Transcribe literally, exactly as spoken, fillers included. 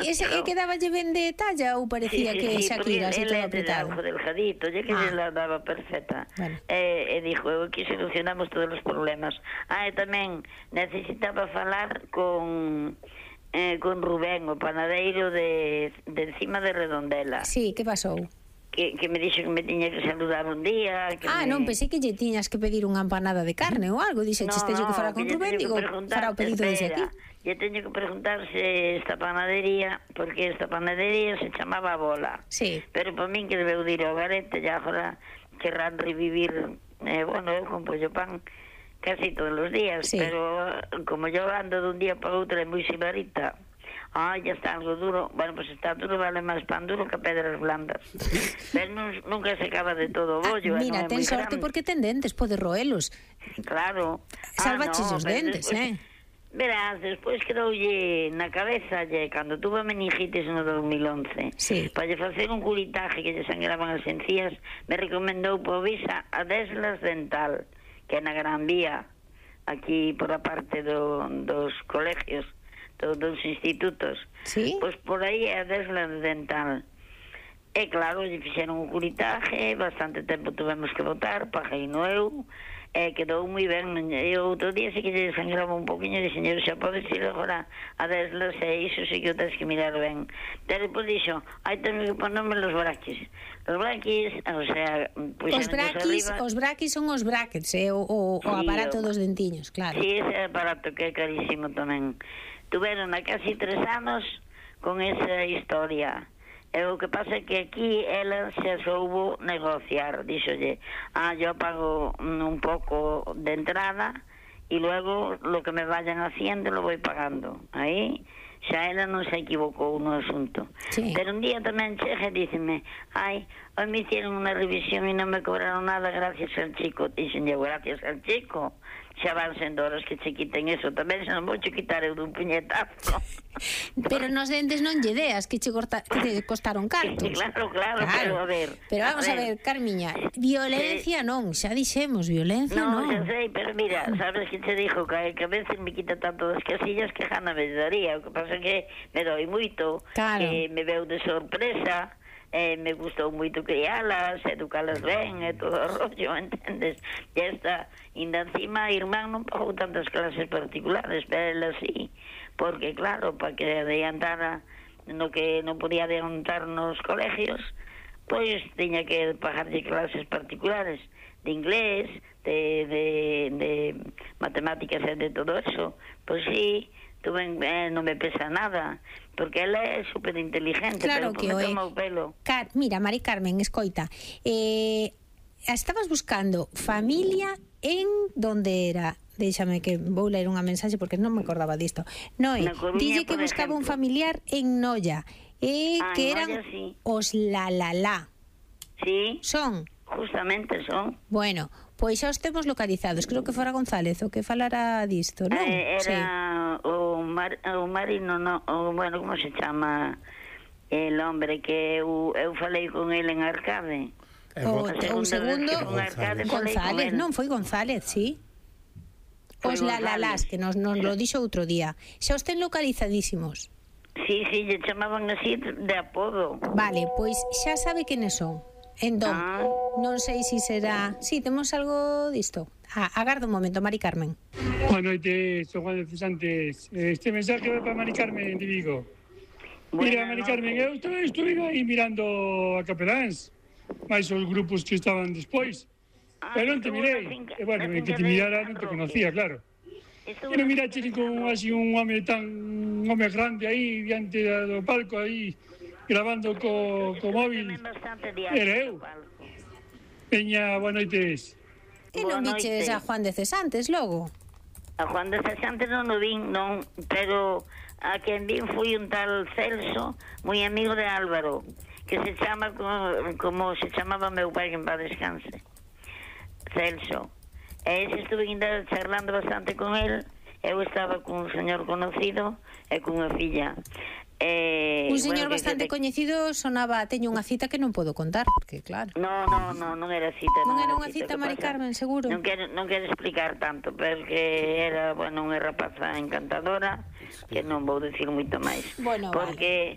ese é que daballe ben de talla ou parecía sí, sí, que sí, Shakira así todo ele apretado? algo delgadito, ya que Ah. se la daba perfecta. Bueno. E, e dixo, aquí solucionamos todos os problemas. Ah, e tamén necesitaba falar con eh, con Rubén, o panadeiro de, de encima de Redondela. Sí, que pasou? Que, que me dixo que me tiña que saludar un día que Ah, me... non, pensei que lle tiñas que pedir unha empanada de carne ou algo. Dixe, no, chiste no, que fora con que Rubén, digo, fará o pedido desde aquí. Lle teño que preguntar se esta panadería, porque esta panadería se chamaba Bola. Sí. Pero para min que debeu dir ao garete, ya agora querrán revivir, eh, bueno, eu compro yo pan casi todos os días, sí. pero como yo ando dun día para outro é moi sibarita. Ah, ya está algo duro. Bueno, pues está duro, vale máis pan duro que pedras blandas. Pero non, nunca se acaba de todo o bollo. Ah, mira, non é ten moi sorte grande. porque ten dentes, pode roelos. Claro. Salvaches ah, no, os dentes, despois, eh? Verás, despois quedoulle na cabeza, lle, cando tuve meningitis no dos mil once, sí. para lle facer un curitaje que lle sangraban as encías, me recomendou por visa a Deslas Dental, que é na Gran Vía, aquí por a parte do, dos colegios, do, dos institutos. Sí? Pois por aí é a Deslas Dental. E claro, lle fixeron un curitaje, bastante tempo tuvemos que votar, paguei no eu, e quedou moi ben. E outro día sí que lle sangraba un poquinho de señor, xa podes ir agora a Deslas, e iso sí que o tens que mirar ben. Pero depois dixo, hai tengo que ponerme los braquis. Los braquis, o sea, pues os braquis, arriba... os braquis son os brackets, eh? o, o, o aparato sí, dos dentiños, claro. Sí, ese aparato que é carísimo tamén. Tuveron a casi tres anos con esa historia. E o que pasa é que aquí ela se soubo negociar, díxolle, ah, yo pago un pouco de entrada e luego lo que me vayan haciendo lo voy pagando. Aí xa ela non se equivocou no asunto. Sí. Pero un día tamén chega e díceme, ai, hoy me hicieron unha revisión e non me cobraron nada gracias al chico. Dixen, gracias al chico. Xa van sendo horas que che quiten eso. Tamén se non vou che quitar eu dun puñetazo. Pero nos dentes non lle deas que che, corta, que te costaron cartos. Claro, claro, claro, pero a ver. Pero vamos a ver, a ver Carmiña, violencia sí. non, xa dixemos, violencia non. Non, xa sei, pero mira, sabes que te dixo que, que a veces me quita tanto das casillas que jana me daría. O que pasa é que me doi moito, claro. Que me veu de sorpresa. Eh, me gustou moito crialas, educalas ben e todo o rollo, entendes? E esta, ainda encima, a irmán non pagou tantas clases particulares, pero ela sí, porque claro, para que adiantara no que non podía adiantar nos colegios, pois tiña que pagarlle clases particulares de inglés, de, de, de matemáticas e de todo eso. Pois sí, tuve, eh, non me pesa nada, porque ela é super inteligente, claro, pero que o pelo. Car mira, Mari Carmen, escoita, eh, estabas buscando familia en donde era, déxame que vou ler unha mensaxe porque non me acordaba disto. Noé, dille que buscaba ejemplo. un familiar en Noia, e eh, que eran Noia, sí. os la la la. Sí. Son? Justamente son. Bueno, pois xa os temos localizados. Creo que fora González o que falara disto, non? Eh, era sí. o, mar, o marino, no, o, bueno, como se chama el hombre que eu, eu falei con ele en Arcade. O, o segundo, Arcade, González, non, foi González, sí. Os lalalás, que nos, nos lo dixo outro día. Xa os ten localizadísimos. Sí, sí, lle chamaban así de apodo. Vale, pois xa sabe quenes son. Entón, ah. non sei se si será... Sí, temos algo disto. Ah, agarda un momento, Mari Carmen. Boa noite, sou Juan de Cesantes. Este mensaje vai para Mari Carmen de Vigo. Bueno, mira, Mari Carmen, eu estuve, estuve aí mirando a Capeláns, máis os grupos que estaban despois. Ah, pero non te mirei. E bueno, en que te mirara non te conocía, claro. E non mirache con así un home tan... un home grande aí, diante do palco aí... grabando co, co móvil. Era eu. Peña, boa noites. E non viches a Juan de Cesantes logo? A Juan de Cesantes non o vin, non, pero a quen vin foi un tal Celso, moi amigo de Álvaro, que se chama como, como se chamaba meu pai, que en paz descanse. Celso. E ese estuve ainda charlando bastante con el. Eu estaba con un señor conocido e con unha filla. Eh, un señor bueno, bastante de... coñecido sonaba, teño unha cita que non podo contar, porque claro. No, no, no, non era cita. Non, non era unha cita, cita Mari Carmen, seguro. Non quero, non quero explicar tanto, porque era, bueno, unha rapaza encantadora, que non vou dicir moito máis. Bueno, porque